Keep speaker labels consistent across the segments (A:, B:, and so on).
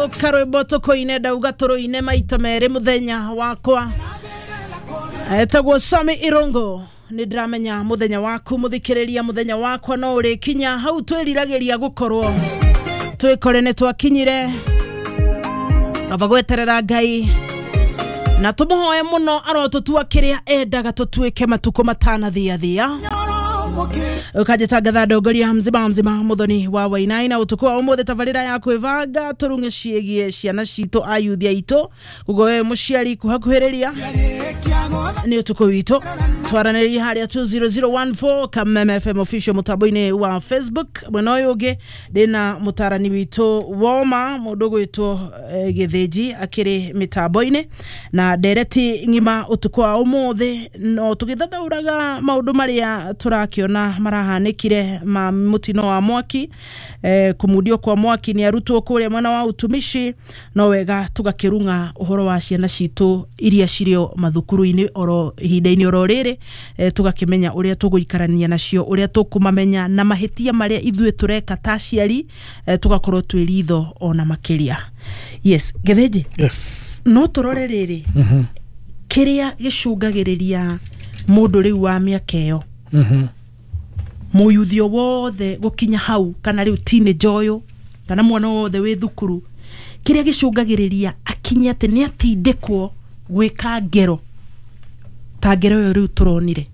A: Karwĩmbo tũkũine ndauga tũrũine maita merĩ mũthenya wakwa. Etagwo Sami Irungu. Nĩ ndĩramenya mũthenya waku mũthikĩrĩria, mũthenya wakwa no ũrĩkinya hau twĩriragĩria gũkorwo twĩkore nĩ twakinyire. Aba gweterera Ngai na tũmũhoe mũno arotũtua kĩrĩa endaga tũtuĩke matukũ matanathiathia. Ukajitangatha ndongoria mzima mzima muthoni wa Wainai na utuku wa umuthi tabarira ya kwibanga turunge ciĩgiĩ ciana citũ ayuthi aitũ. Koguo we mũciari kuhakuhĩrĩria nĩ ũtukũ witũ twaranĩria harĩa 20014 Kameme FM official mũtambo-inĩ wa Facebook. Mwena ũyũ ũngĩ ndĩna mũtarani witũ woma mũndũ gwĩtwo Gĩthĩnji akĩrĩ mĩtambo-inĩ na ndereti ng'ima ũtukũ wa ũmũthĩ, no tũgĩthathaũraga maũndũ marĩa tũrakĩona marahanĩkire ma mũtino wa mwaki, kũmundio kwa mwaki nĩ arutwo kũrĩa mwena wa utumishi. No wega tũgakĩrung'a ũhoro wa ciana citũ iria cirĩ o mathukuru-inĩ oro ihinda-inĩ oro rĩrĩ, tũgakĩmenya ũrĩa tũgũikarania nacio, ũrĩa tũkũmamenya na mahĩtia marĩa ithuĩ tũreka ta aciari, tũgakorwo twĩ ritho ona makĩria. Yes, Gĩthĩnji.
B: Yes.
A: No tũrore rĩrĩ kĩrĩa gĩcũngagĩrĩria mũndũ rĩu wa mĩaka ĩyo mũyuthio wothe gũkinya hau, kana rĩu teenager ũyũ kana mwana wothe wĩ thukuru, kĩrĩa gĩcũngagĩrĩria akinye atĩ nĩ atindĩkwo gwĩka ngero ta ngero ĩyo rĩu tũronire.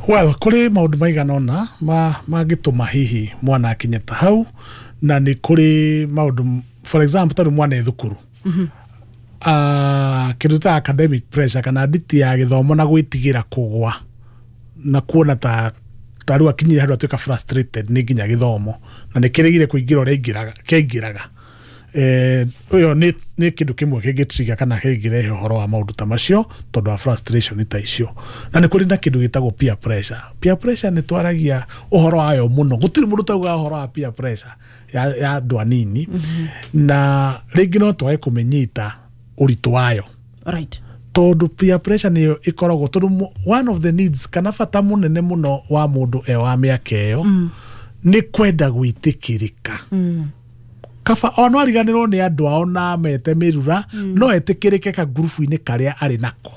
B: Well, kũrĩ maũndũ maigana ũna mangĩtũma hihi mwana akinye ta hau, na nĩ kũrĩ maũndũ, for example, tarĩu mwana e thukuru, kĩndũ ta academic pressure kana nditi ya gĩthomo na gwĩtigĩra kũgwa na kuona ta tarĩu akinyire handũ atuĩka frustrated nĩ nginya gĩthomo na nĩ kĩrĩgire kũingĩra ũrĩa kĩaingĩraga. Ũyũ nĩ kĩndũ kĩmwe kĩngĩtrigger kana kĩngĩrehe ũhoro wa maũndũ ta macio tondũ wa frustration ta icio. Na nĩ kũrĩ na kĩndũ gĩtagwo peer pressure. Peer pressure nĩ twaragia ũhoro wayo mũno, gũtirĩ mũndũ ũtaugaga ũhoro wa peer pressure ya andũ anini, na rĩngĩ no twage kũmĩnyita ũritũ wayo.
A: Right.
B: Tondũ peer pressure nĩyo ĩkoragwo, tondũ one of the needs kana bata mũnene mũno wa mũndũ e wa mĩaka ĩyo nĩ kwenda gwĩtĩkĩrĩka. Kaba ono ariganĩrwo nĩ andũ ao na mete mĩrura, no etĩkĩrĩke ka ngurubu-inĩ karĩa arĩ nako,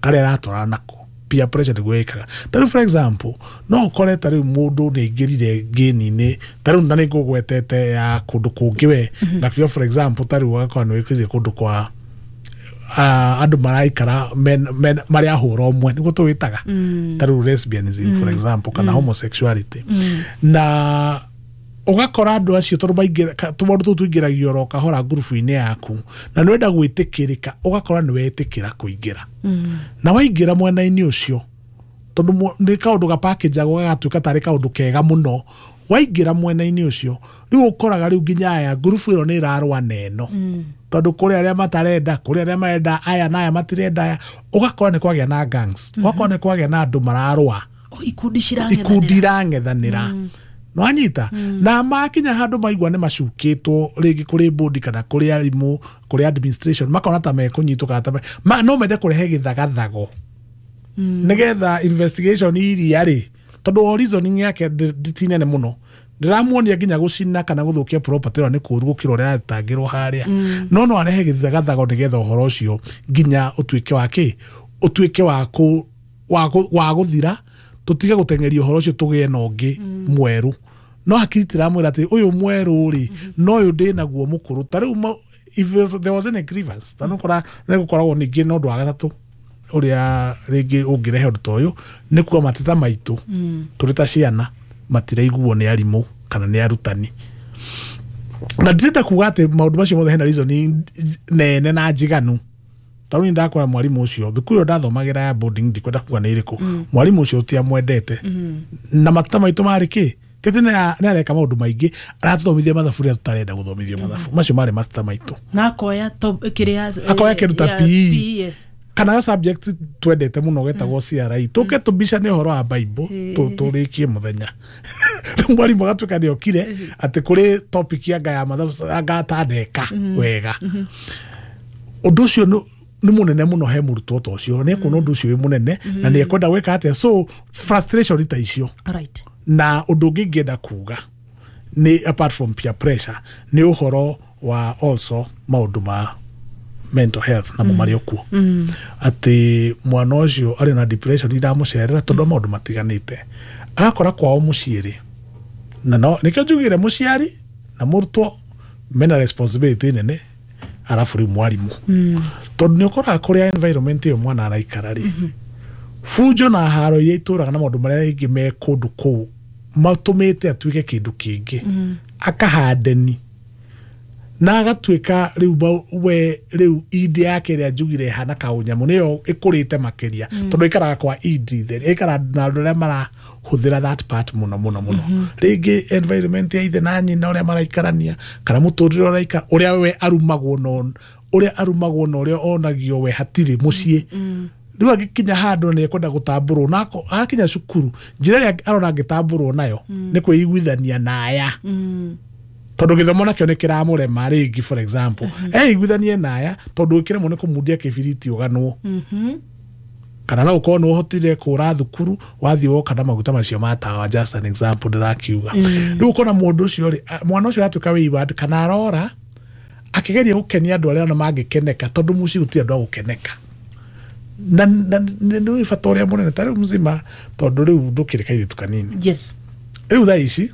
B: karĩa aratwarana nako. Peer pressure nĩguo ĩkaga. Ta rĩu for example, no ũkore ta rĩu mũndũ nĩ aingĩrire ngĩni-inĩ, ta rĩu na nĩ ngũgwetete ya kũndũ kũngĩ we, ngakiuga for example ta rĩu ũgakora nĩ wĩkĩrire kũndũ kwa andũ maraikara marĩ a hũra ũmwe, nĩguo tũwĩtaga ta rĩu lesbianism for example kana homosexuality, na ũgakora andũ acio tondũ tũmaũndũ tũu tũingĩragio oro kahora ngurubu-inĩ yaku na nĩ wenda gwĩtĩkĩrĩka, ũgakora nĩ wetĩkĩra kũingĩra na waingĩra mwena-inĩ ũcio, tondũ nĩ kaũndũ gapakĩnjagwo gagatuĩka tarĩ kaũndũ kega mũno. Waingĩra mwena-inĩ ũcio rĩu ũkoraga rĩu nginya aya ngurubu ĩno nĩ ĩrarũa na ĩno, tondũ kũrĩ arĩa matarenda, kũrĩ arĩa marenda aya na aya matirenda aya, ũgakora nĩ kwagĩa na gangs, ũgakora nĩ kwagĩa na andũ mararũa,
A: ikundi cirang'ethanĩra,
B: ikundi irang'ethanĩra. Nwanyita na makinya handũ maigua nĩ macukĩtwo rĩngĩ kũrĩ board kana kũrĩ arimũ, kũrĩ administration, makona ta mekũnyitwo kana ta no mende kũrehe gĩthagathago nĩgetha investigation iria rĩ, tondũ o reasoning yake ti nene mũno, ndĩramuonia nginya gũcina kana gũthũkia property ĩyo nĩ kũũru gũkĩra ũrĩa aratangĩrwo harĩa, no arehe gĩthagathago nĩgetha ũhoro ũcio nginya ũtuĩke wa kĩ, ũtuĩke wa gũthira, tũtige gũteng'eria ũhoro ũcio tũgĩe na ũngĩ mwerũ. No hakiri tiramwĩra atĩ ũyũ mwerũ rĩ, no ũyũ ndĩnaguo mũkũrũ. Ta rĩu if there was any grievance, ta nĩũkora nĩgũkoragwo ningĩ na ũndũ wa gatatũ ũrĩa rĩngĩ ũngĩrehe ũndũ ta ũyũ, nĩ kuga mateta maitũ tũrĩ ta ciana matiraiguo nĩ arimũ kana nĩ arutani. Na ndĩrenda kuga atĩ maũndũ macio mothe hena reason nene na njiganu. Ta rĩu ndakora mwarimũ ũcio thukuru ĩyo ndathomagĩra ya boarding, ndikwenda kuga nĩ ĩrĩkũ, mwarimũ ũcio tũtiamwendete na mateta maitũ marĩ kĩ, tete nĩ areka maũndũ maingĩ, aratũthomithia mathabu rĩrĩa tũtarenda gũthomithio mathabu, macio marĩ mateta maitũ.
A: Na akoya kĩrĩa
B: akoya kĩndũ ta PE kana subject twendete mũno getagwo CRE, tũke tũbicane ũhoro wa Bible tũrĩkie mũthenya. Rĩu mwarimũ agatuĩka nĩ okire atĩ kũrĩ topic ya anga ya mathabu anga atandeka wega. Ũndũ ũcio nĩ mũnene mũno he mũrutwo ta ũcio, nĩ ekuona ũndũ ũcio wĩ mũnene na nĩ ekwenda gwĩka atĩa, so frustration ta icio.
A: Right.
B: Na ũndũ ũngĩ ingĩenda kuga Nĩ apart from peer pressure, nĩ ũhoro wa also maũndũ ma mental health namo marĩ o kuo, atĩ mwana ũcio arĩ na depression iramũcerera tondũ wa maũndũ matiganĩte, agakora kwao mũciĩ rĩ, na no nĩkĩo njugire mũciari na mũrutwo mena responsibility nene, arabu rĩu mwarimũ, tondũ nĩ ũkoraga kũrĩa environment ĩyo mwana araikara rĩ, bunjo na haro iria itũraga na maũndũ marĩa rĩngĩ me kũndũ kũu matũmĩte atuĩke kĩndũ kĩngĩ, akahandeni na agatuĩka rĩu we rĩu indi yake ĩrĩa njugire ĩhana kaũnyamũ nĩyo ĩkũrĩte makĩria, tondũ ĩikaraga kwa indi theri, ĩikaraga na andũ arĩa marahũthĩra that part mũno mũno mũno, rĩngĩ environment ya ithe na nyina ũrĩa maraikarania, kana mũtũrĩre ũraikara, ũrĩa we arumagwo, no ũrĩa arumagwo na ũrĩa onagio we hatirĩ mũciĩ. Rĩu agĩkinya handũ nĩ ekwenda gũtambũrwo, na akinya cukuru njĩra ĩrĩa arona angĩtambũrwo nayo nĩ kwĩiguithania na aya, tondũ gĩthomo nakĩo nĩ kĩramũrema rĩngĩ, for example, eiguithanie na aya tondũ ĩkĩremwo nĩ kũmundia kĩbiriti ũganwo, kana no ũkorwo nĩ ũhotire kũra thukuru wathiĩ woka na maguta macio ma tawa, just an example ndĩrakiuga. Rĩu ũkona mũndũ ũcio rĩ, mwana ũcio aratuĩka wayward kana arora akĩgeria gũkenia andũ arĩa ona mangĩkeneka, tondũ mũciĩ gũtirĩ andũ a gũkeneka, na nĩ bata ũrĩa mũnene ta rĩu mzima, tondũ rĩu ndũkĩrĩ kairĩtu kanini. Rĩu thaa ici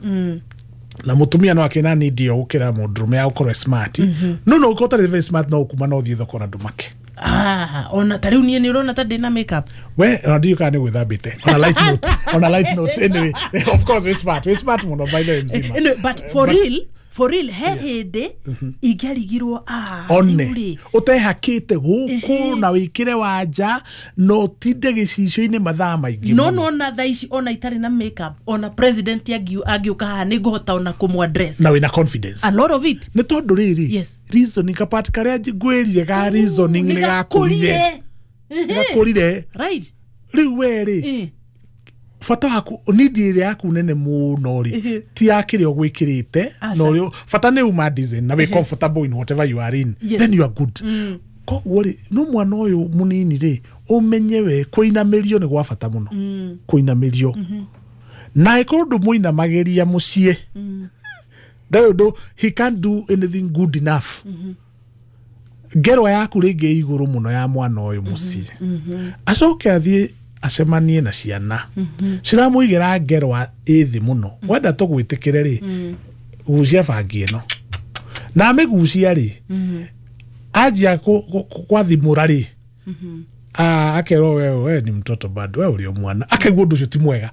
B: na mũtumia no akĩna need ĩyo gũkĩra mũndũrũme ya gũkorwo smart, no no ũkorwo ũtarĩ very smart, no ũkuma no ũthiĩ thoko na ndũmake.
A: Ona ta rĩu niĩ nĩ ũrona ta ndĩna makeup.
B: We ona ndiũĩ kana nĩ gwĩthambĩte, on a light note, on a light note, anyway, of course we smart, we smart mũno by the way mzima.
A: Anyway, but for real, for real, he hĩndĩ ingĩarigirwo
B: one ũtehakĩte gũkũ na wĩkĩre wanja na ũtinde gĩcicio-inĩ mathaa maingĩ.
A: No nona thaa ici ona itarĩ na makeup, ona president angĩũka haha nĩ ngũhota ona kũmũ-address
B: na wĩna confidence,
A: a lot of it.
B: Nĩ tondũ rĩrĩ reasoning kapart karĩa ngwĩrire ga reasoning nĩ gakũrire, gakũrire
A: right.
B: Rĩu we rĩ bata waku need ĩrĩa yaku nene mũno rĩ ti ya kĩrĩa ũgwĩkĩrĩte, no rĩu bata nĩ uma design na wĩ comfortable in whatever you are in, then you are good. Koguo rĩ no mwana ũyũ mũnini rĩ ũmenye we kũinamĩrio nĩ gwa bata mũno, kũinamĩrio na ĩkorwo ndũmũinamagĩria mũciĩ, ndarĩ ũndũ, he can't do anything good enough. Ngerwa yaku rĩngĩ igũrũ mũno ya mwana ũyũ mũciĩ, acoke athiĩ acemanie na ciana ciramũigĩra ngerwa ĩthĩ mũno, wenda tũgwĩtĩkĩre rĩ gucia bangi ĩno, na amĩgucia rĩ anjia gwathimũra rĩ akerwo we ni mtoto bado, we ũrĩ o mwana, akaigua ũndũ ũcio ti mwega,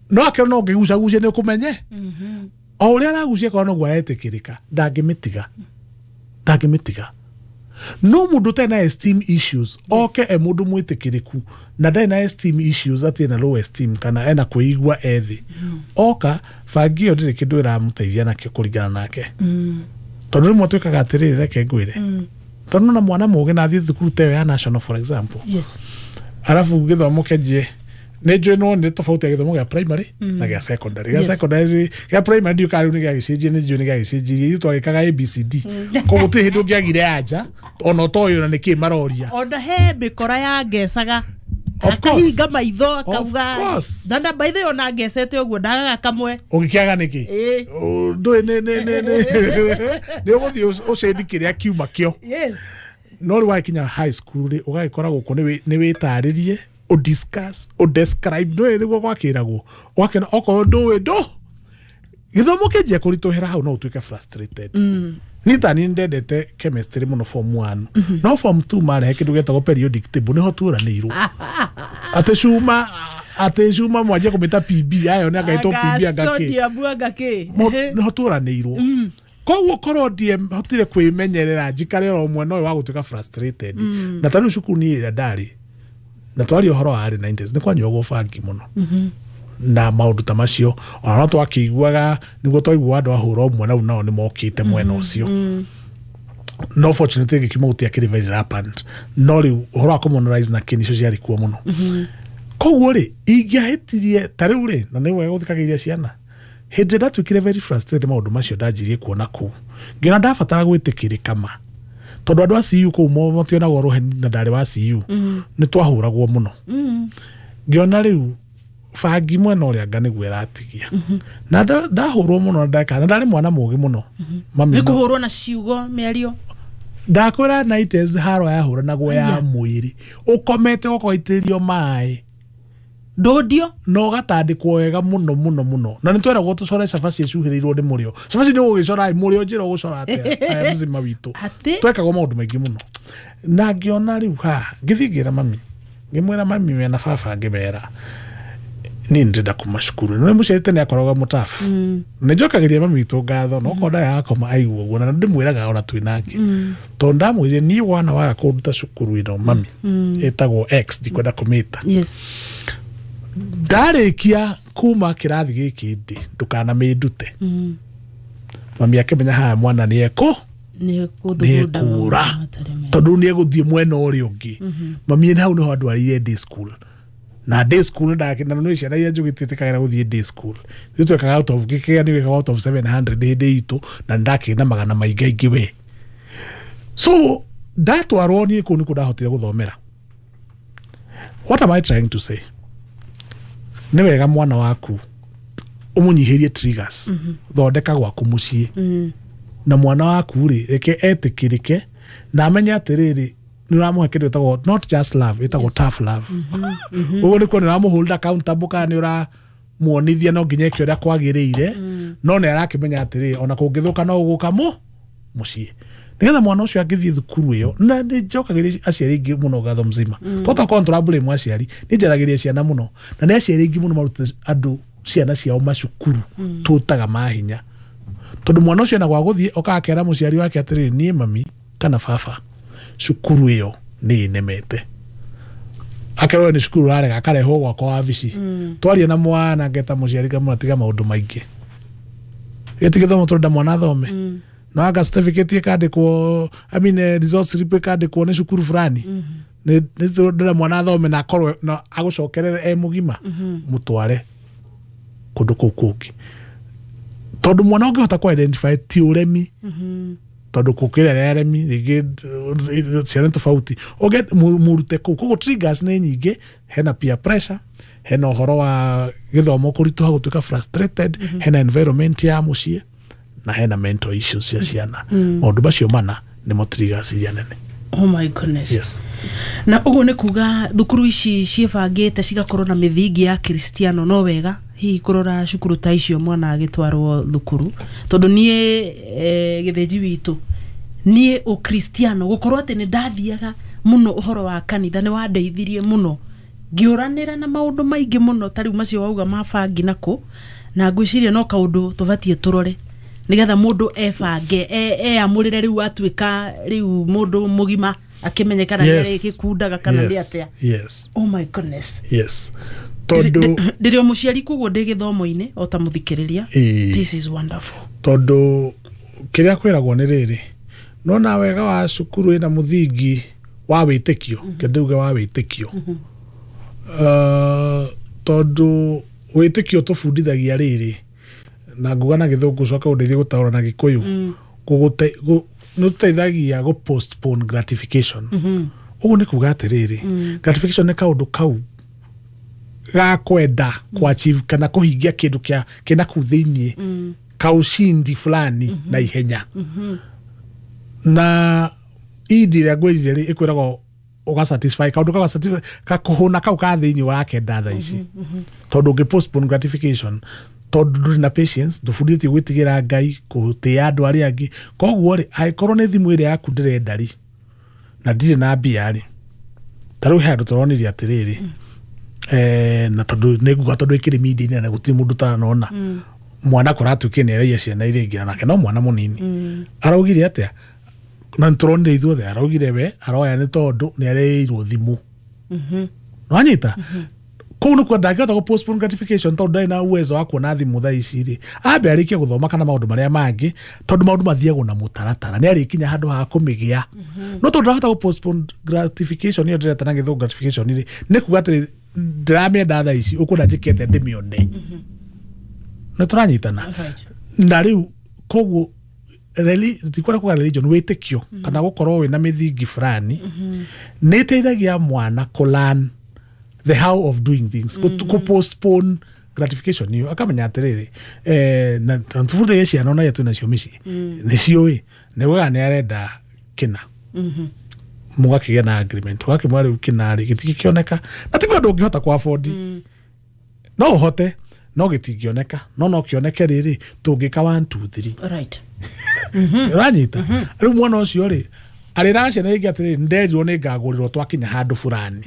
B: no akerwo no ũngĩgucagucia nĩ ũkũmenye o ũrĩa aragucia korwo noguo aretĩkĩrĩka, ndangĩmĩtiga, ndangĩmĩtiga. No mũndũ ũtarĩ na esteem issues oke e mũndũ mwĩtĩkĩrĩku na ndarĩ na esteem issues, atĩ ena low esteem kana ena kwĩigua ethĩ, oka bangi ĩyo ndĩrĩ kĩndũ ĩramũteithia nakĩo kũringana nake, tondũ rĩmwe twĩkaga atĩrĩrĩ, reke ngwĩre, tondũ na mwana mũgĩ na athiĩ thukuru ta ĩyo ya national for example, arabu gĩthomo kĩanjie nĩ njũĩ no nĩ tofauti ya gĩthomo gĩa primary na gĩa secondary. Gĩa secondary, gĩa primary ndiũ kana rĩu nĩ gĩagĩcenjia, nĩ njũĩ nĩ gĩagĩcenjirie, ithuĩ twagĩkaga ABCD, koguo gũtirĩ hĩndĩ ũngĩagire anja ona ũtoĩ ona nĩkĩ maroria.
A: Ona he mĩkora ya ngecaga akahinga maitho akauga na by the way ona ngecete ũguo ndagaga kamwe,
B: ũngĩkĩaga nĩkĩ ndũĩ nĩ ũgũthiĩ ũcendi kĩrĩa kiuma kĩo. No rĩu wakinya high school rĩ ũgagĩkora gũkũ nĩ wĩtarĩrie, udiscuss, udescribe, ndũĩ nĩguo gwakĩragwo, ũgakĩona okorwo ndũĩ ndũ gĩthomo kĩanjia kũritũhĩra hau no ũtuĩke frustrated. Niĩ ta niĩ ndendete chemistry mũno form 1, no form 2 marehe kĩndũ gĩtagwo periodic table, nĩho tuoranĩirwo atĩ cuma mwanjia kũmĩta PB, ayo nĩ angaĩtwo PB angakĩ, nĩho tuoranĩirwo. Koguo korwo ndiahotire kwĩmenyerera njikare oro mwena ũyũ wa gũtuĩka frustrated, na ta rĩu cukuru niĩ ĩrĩa ndarĩ na twaria ũhoro wa early 90s nĩ kwanyuagwo bangi mũno na maũndũ ta macio, ona no twakĩiguaga nĩguo twaiguaga andũ ahũra ũmwe na rĩu nao nĩ mokĩte mwena ũcio. No fortunately gĩkiuma gũtiakĩrĩ very rampant, no rĩu ũhoro wa communalize na kĩ nĩcio ciarĩ kuo mũno. Koguo rĩ ingĩahĩtirie ta rĩu rĩ, na nĩ wega gũthikagĩrĩria ciana, hĩndĩ ĩrĩa ndatuĩkire very frustrated maũndũ macio ndanjirie kuona kũu, ngĩona ndabatara gwĩtĩkĩrĩka ma, tondũ andũ a CU kũu mationagwo rũheni na ndarĩ wa CU, nĩ twahũragwo mũno. Ngĩona rĩu Bangi mwena ũrĩa anga nĩguo ĩratigia. Na ndahũrwo mũno ndeka na ndarĩ mwana mũgĩ mũno. Mami
A: nĩ kũhũrwo na ciugo mĩario.
B: Ndakwĩra nights haro yahũranagwo ya mwĩrĩ ũkomete ũkoitĩrĩrio maĩ
A: ndũndio
B: na ũgatandĩkwo wega mũno mũno mũno na nĩ tweragwo tũcore cabaci ĩcuhĩrĩirwo nĩ mũrĩo. Cabaci nĩ ũgũgĩcora mũrĩo njĩra ũgũcora atĩa aya mzima witũ. Twekagwo maũndũ maingĩ mũno na ngĩona rĩu haha ngĩthiĩ ngĩra mami ngĩmwĩra mami mena baba ngĩmera niĩ ndĩrenda kuma cukuru nĩ mũciari tene akoragwo mũtabu nĩ njokagĩria mami witũ ngatho no korwo ndarĩ arakoma aigua ũguo na ndĩmwĩraga ona twĩ nake tondũ ndamwĩrire niĩ wana waga kũnduta cukuru ĩno mami ĩtagwo X ndikwenda kũmĩta. Ndarĩkia kuma kĩrathi gĩkĩ ndĩ ndũkanamĩndute. Mami akĩmenya haha mwana nĩ ekũ nĩekũra tondũ nĩ egũthiĩ mwena ũrĩa ũngĩ. Mami hau nĩho andwarire day school na day school na nĩ ciana iria njũgĩ itiĩtĩkagĩra gũthiĩ day school. Ithuĩ twekaga out of gĩkĩgĩa nĩ gwĩkaga out of 700 hĩndĩ itũ na nĩndakĩrĩ na magana maingĩ aingĩ we. So ndatwarwo niĩ kũu nĩkuo ndahotire gũthomera. What am I trying to say? Nĩ wega mwana waku ũmũnyihĩrie triggers. Thondeka gwaku mũciĩ na mwana waku rĩ reke etĩkĩrĩke na amenye atĩrĩrĩ nĩ ũramũhe kĩndũ gĩtagwo not just love ĩtagwo tough love. Ũguo nĩkuo nĩ ũramũhold accountable kana nĩ ũramuonithia no nginya eke ũrĩa kwagĩrĩire no nĩ arakĩmenya atĩrĩrĩ ona kũngĩthũka no ũgũka mũciĩ nĩgetha mwana ũcio angĩthiĩ thukuru ĩyo. Na nĩ njokagĩria aciari aingĩ mũno ngatho mzima tondũ tũra blame aciari nĩ njaragĩria ciana mũno na nĩ aciari aingĩ mũno marutĩte andũ ciana ciao macukuru tũtaga mahinya tondũ mwana ũcio ena gwa gũthiĩ okaga akera mũciari wake atĩrĩrĩ niĩ mami kana baba cukuru ĩyo nĩ ĩnemete akerwo nĩ cukuru ũrarega akarehwo gwakwa wabici twarie na mwana ngeta mũciari ngamwĩra tiga maũndũ maingĩ gĩti gĩthomo tũrenda mwana athome na anga certificate ĩkandĩkwo I mean results slip ĩkandĩkwo nĩ cukuru fulani nĩ ndĩrenda mwana athome na akorwo na agũcokerere e mũgima mũtware kũndũ kũu kũngĩ tondũ mwana ũngĩhota kũ identify ti ũremi tondũ kũkĩra arĩa aremi rĩngĩ ciana nĩ tofauti mũrute kũu koguo triggers nĩ nyingĩ. Hena peer pressure, hena ũhoro wa gĩthomo kũritũha gũtuĩka frustrated, hena environment ya mũciĩ na hena mental issues cia ciana. Maũndũ macio mana nĩmo triggers iria nene.
A: Oh my goodness.
B: Yes.
A: Na ũguo nĩ kuga thukuru ici ciĩbangĩte cigakorwo na mĩthingi ya Kristiano no wega hihi kũrora cukuru ta icio mwana agĩtwarwo thukuru tondũ niĩ gĩthĩnji witũ niĩ ũkristiano gũkorwo atĩ nĩ ndathiaga mũno ũhoro wa kanitha nĩ wandeithirie mũno ngĩũranĩra na maũndũ maingĩ mũno ta rĩu macio wauga ma bangi nako na ngwĩciria no kaũndũ tũbatiĩ tũrore nĩgetha mũndũ ebange eamũrĩre rĩu atuĩka rĩu mũndũ mũgima akĩmenye kana nĩ arĩgĩkundaga kana nĩ atĩa.
B: Yes.
A: Oh my goodness.
B: Yes. Tondũ
A: ndĩrĩ o mũciari koguo ndĩ gĩthomo-inĩ o ta mũthikĩrĩria. This is wonderful.
B: Tondũ kĩrĩa kwĩragwo nĩ rĩrĩ nona wega wa cukuru ĩna mũthingi wa wĩtĩkio kĩndũ wa wĩtĩkio tondũ wĩtĩkio tũbundithagia rĩrĩ na nguga na gĩthũngũ coka ũndeithie gũtaũra na gĩkũyũ nĩ tũteithagia gũ postpone gratification. Ũguo nĩ kuga atĩrĩrĩ gratification nĩ kaũndũ kau ga kwenda ku achieve kana kũhingia kĩndũ kĩa kĩna kũu thĩiniĩ kaushindi fulani na ihenya na indi ĩrĩa ngwĩciria rĩ ĩkwĩragwo ũga satisfy kaũndũ kau satisfy kakũhũna kau ka thĩiniĩ ũrakenda thaa ici tondũ ũngĩ postpone gratification tondũ ndũrĩ na patience ndũbundithĩtio gwĩtigĩra Ngai kũtĩĩa andũ arĩa angĩ koguo rĩ angĩkorwo nĩ thimũ ĩrĩa yaku ndĩrenda rĩ na ndirĩ na mbia rĩ ta rĩu he andũ tũronirie atĩrĩrĩ na tondũ nĩ nguga tondũ ĩkĩrĩ media-inĩ na gũtirĩ mũndũ ũtanona mwana kũratuĩkire nĩ araiya ciana iria ingĩ nake no mwana mũnini araugire atĩa na nĩtũronire ithuothe araugire we aroya nĩ tondũ nĩ areirwo thimũ nĩwanyita kũu nĩkuo ndangĩhota gũ postpone gratification tondũ ndarĩ na uwezo wa kuona thimũ thaa ici rĩ ambe arĩkie gũthoma kana maũndũ marĩa mangĩ tondũ maũndũ mathiagwo na mũtaratara nĩ arĩkinya handũ ha kũmĩgĩa no tondũ ndahota gũ postpone gratification ĩyo ndĩreta na gĩthũngũ gratification rĩ nĩ kuga atĩrĩ ndĩramĩenda thaa ici ũkwenda njĩke atĩa ndĩmĩone nĩ tũranyitana na rĩu koguo ndikwenda kuga religion wĩtĩkio kana gũkorwo wĩna mĩthingi fulani nĩ ĩteithagia mwana kũ learn The how of doing things, kũ postpone gratification iyo akamenya atĩrĩrĩ, na tũbundithie ciana ona iria twĩ nacio mĩciĩ nĩ ciũĩ nĩ wega nĩ arenda kĩna, mũgakĩgĩa na agreement, ũgakĩmwĩra rĩu kĩna rĩ gĩtingĩkĩoneka na tiguo andũ ũngĩhota kwa afford, no ũhote no gĩtingĩoneka, no kĩoneke rĩrĩ tũngĩka 1 2 3. Ũranyita? Rĩu mwana ũcio rĩ arĩraga ciana ingĩ atĩrĩrĩ, nderirwo nĩ ngagũrĩrwo twakinya handũ fulani.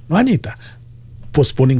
B: Nwanyita? Postponing.